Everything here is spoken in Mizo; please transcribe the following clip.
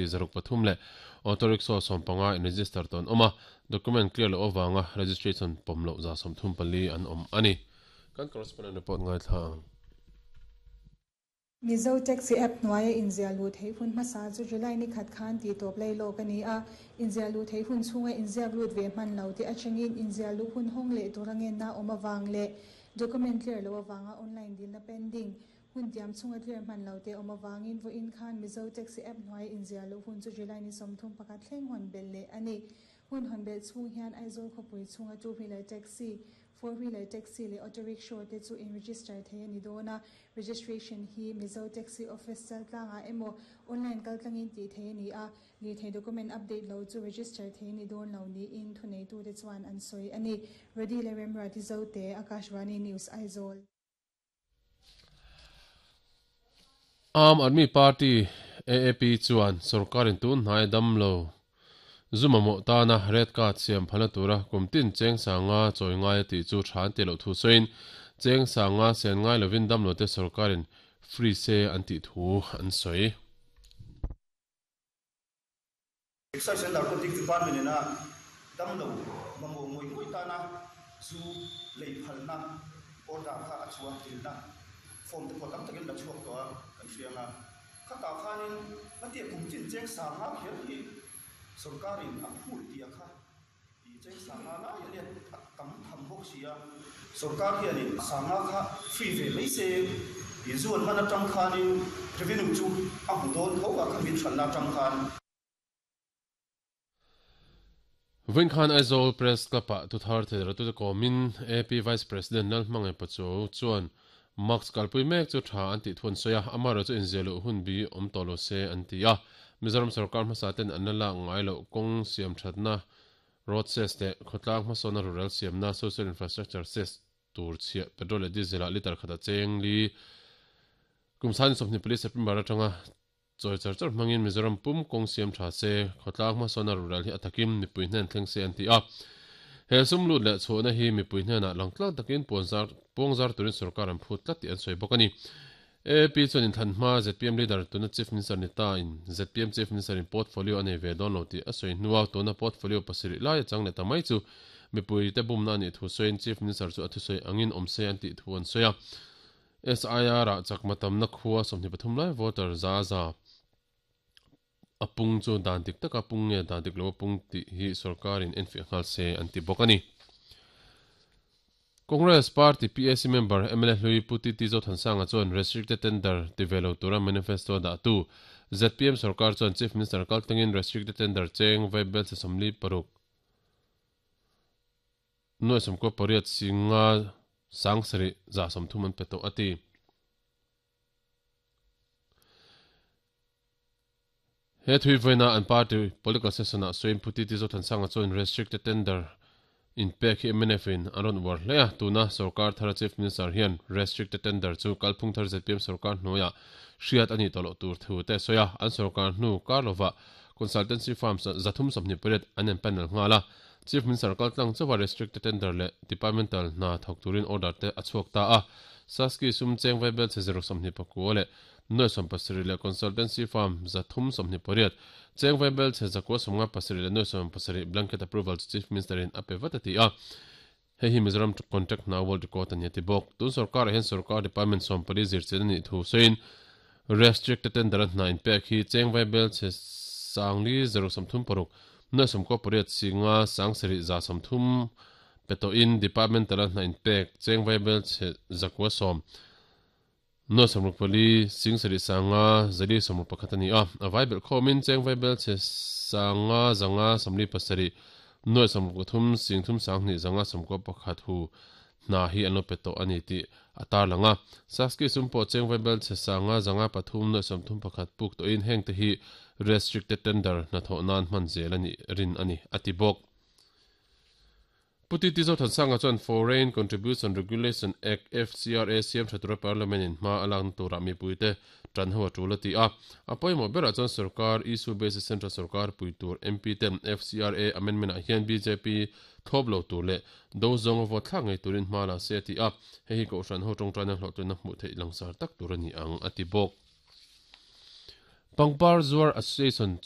603 leh auto rickshaw 15 in register tawh an awm a, document clear loh avanga registration pawm loh 134 an awm a ni. Kan correspondent report ngaithla ang. Mizo Taxi App hnuaia inziah luh theih hun hmasa chu July ni khat khan tih tawp lei lawk a ni a, inziah luh theih hun chhunga inziak lut ve hman lo te atangin inziah luh hun hawng leh tur a ngenna awm avang leh document clear loh avanga online dilna pending hun tiam chhunga clear hman lo te awm avangin vawiin khan Mizo Taxi App hnuaia inziah luh hun chu July ni 31 thleng hawn belh leh a ni. Hun hawn belh chhung hian Aizawl khawpui chhunga two wheeler taxi, four wheeler taxi leh auto rickshaw te chu in register thei a ni dawn a, registration hi Mizo Taxi Office chaltlangah emaw online kaltlangin tih theih a ni a, lirthei document update lo chu register thei a ni dawn lo niin thuneitute chuan an sawi a ni. Rody leh Remruati Zote, Akashvani News, Aizawl. Aam Aadmi Party, AAP, chuan sorkarin tun hnai damlo zu mamawh tana red card siam phalna tura kum tin cheng sanga chawi ngai a tih chu tha an tih loh thu sawiin cheng sanga sen ngai lovin damlote sorkarin free se an tih thu an sawi. Excise and Narcotics Department ina damlo mamawh ngawih ngawih tana zu lei phalna order kha a chhuah dilna form te pawh tam takin la chhuak tawh a kan hria ang a. Khatah khanin ngatia kum chin cheng sanga kher hi sorkarin a phut tih a kha i cheng sanga lai a nia a tam tham bawk si a. Sorkar hianin sanga kha free ve mai se i zu an hman atang khanin revenue chu a hmu dawn tho a kha min hranna atang khan. Vawiin khan Aizawl Press Club-ah thuthar theidaratute kawmin AP Vice President Lalhmangaih Pachuau chuan Mask kalpui mek chu tha an tih thu an sawi a, amaherawhchu chu inziah luh hun bi awm tawh lo se an ti a. Mizoram sorkar hmasa ten an la lak ngai loh kawng siam thatna road cess leh khawtlang hmasawnna rurel siamna social infrastructure cess tur chhiah petrol leh diesel ah litre khat a cheng li kum 24 September atanga Chawi char char hmangin Mizoram pum kawng siam tha se, khawtlang hmasawn a rural hi a takin mipui hnen thleng se an ti a. He sum lut leh chhuahna hi mipui hnenah langtlang takin puanzar puangzar turin sorkar an phut tlat tih an sawi bawk a ni. AAP chuan inthlan hma zpm leader tuna Chief Minister ni ta in zpm Chief Minister in portfolio a nei ve dawn lo tih a sawi hnua tuna portfolio pasarih lai a chang leh ta mai chu mipui te bumna a nih thu sawiin Chief Minister chu a thusawi angin awm se an tih thu an sawi a. SIR ah chakma tamna khua 23 lai voter za za a pung chu dan dik taka pung nge dan dik lo a pung tih hi sorkarin enfiah nghal se an ti bawk a ni. Congress Party PAC member mla hlui Pu TT Zothansanga chuan restricted tender ti ve lo tura manifesto a dahtu zpm sorkar chuan Chief Minister kaltlangin restricted tender cheng vaibel che 46 Nuai 98 singa 7 za 30 an pe tawh a ti. He thui vawiina an party political session ah sawiin Pu TT Zothansanga chuan restricted tender inpek hi mnf in an rawn uar hle a, tuna sorkar thara Chief Minister hian restricted tender chu kalphung thar zpm sorkar hnuaiah hriat a nih tawh loh tur thu te a sawi a, an sorkar hnu kar lovah consultancy firms 328 an empanel nghal a, Chief Minister kaltlang chauha restricted tender leh departmental hna thawk turin order te a chhuak ta a. Saski sum cheng vaibel chhe zero 29 leh nuai 17 leh consultancy firm 328 cheng vaibel chhe 957 leh nuai 17 blanket approval chu Chief Minister in a pe vat a ti a. Hei hi Mizoram contract hna world record a ni a ti bawk. Tun sorkarah hian sorkar department 14 zirchian a nih thu sawiin Restricted tender a hna inpek hi cheng vaibel chhe 4 0 30 6 nuai 98 singa 7 za 30 pe tawhin departmental a hna inpek cheng vaibel chhe 910 nuai 64 sing 7 sanga 4 61 a ni a. A vaibel khawmin cheng vaibel chhe 5 557 nuai 63 sing 3 sang 2 5 91 hu hna hi an lo pe tawh a ni tih a tarlang a. Saski sum pawh cheng vaibel chhe sanga zanga pathum nuai 31 puk tawhin heng te hi restricted tender hnathawh nan hman zel a nih rin a ni, a ti bawk. Pu TT Zothansanga chuan Foreign Contribution Regulation Act, FCRA, siam tha tura Parliament in hma a lakna turah mipuite tan ho a tul a ti a. A pawimawh berah chuan sorkar issue based central sorkar pui tur MP ten FCRA amendment ah hian bjp thlawp lo tur leh do zawnga vote thlak ngei turin hma la se a ti a, hei hi Kohhran ho tawngtaina hlawhtlinna hmuh theih langsar tak tur a ni ang a ti bawk. Pangpar zuar Association chu.